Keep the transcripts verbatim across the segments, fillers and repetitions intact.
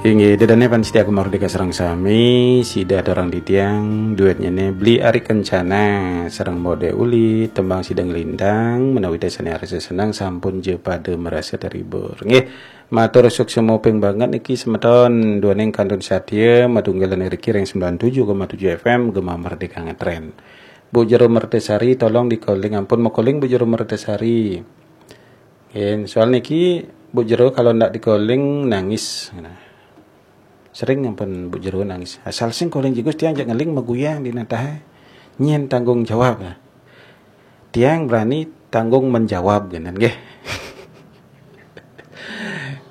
Inggih, ida dané pamiarsa Gema Merdeka sareng sami, sida aturang titiang, duétnyané Bli Ari Kencana sareng Modé Uli, tembang Sida Nglintang, menawi ida sané arsa seneng sampun ja pada merasa terhibur. Nggih, matur suksma ping banget niki semeton, duaning kantun satya, matunggalan riki ring sembilan tujuh koma tujuh F M, Gema Merdeka Ngetren. Bu Jero Mertasari, tolong di-calling, ampun ma-calling Bu Jero Mertasari. Nggih, soal niki Bu Jero kalau ndak di-calling nangis. Nah. Sering ampun Bu Jero nangis. Asal sing calling jigus tiang jak ngeling maguyang di natah. Nyén tanggung jawab. Tiang berani tanggung menjawab genen nggih.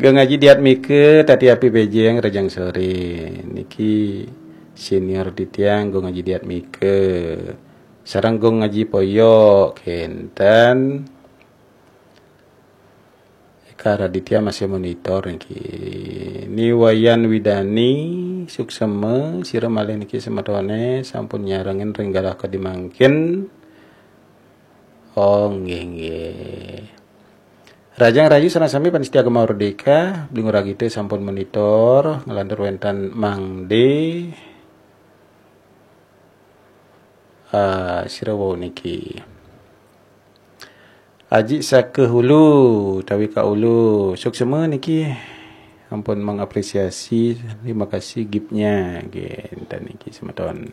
Gung Aji Diatmika, Tati Api Bejeng, Rejang Sore. Niki senior di tiang, Gung Aji Diatmika. Sareng Gung Aji Poyok, kénten. Eka Raditya masih monitor niki. Ni Wayan Widani, suksma, sira malih niki semetoné sampun nyarengin ring galah kadi mangkin. Oh, nggih, nggih. Rajang Rayu sareng sami pamiarsa Gema Merdeka, Bli Ngurah Gita sampun monitor, nglantur wénten Mang D. Ah, sira wau niki. Aji Saka Hulu, tawi Ka Ulu, suksma niki. Ampun mengapresiasi, terima kasih giftnya. Nggih, enten niki semeton.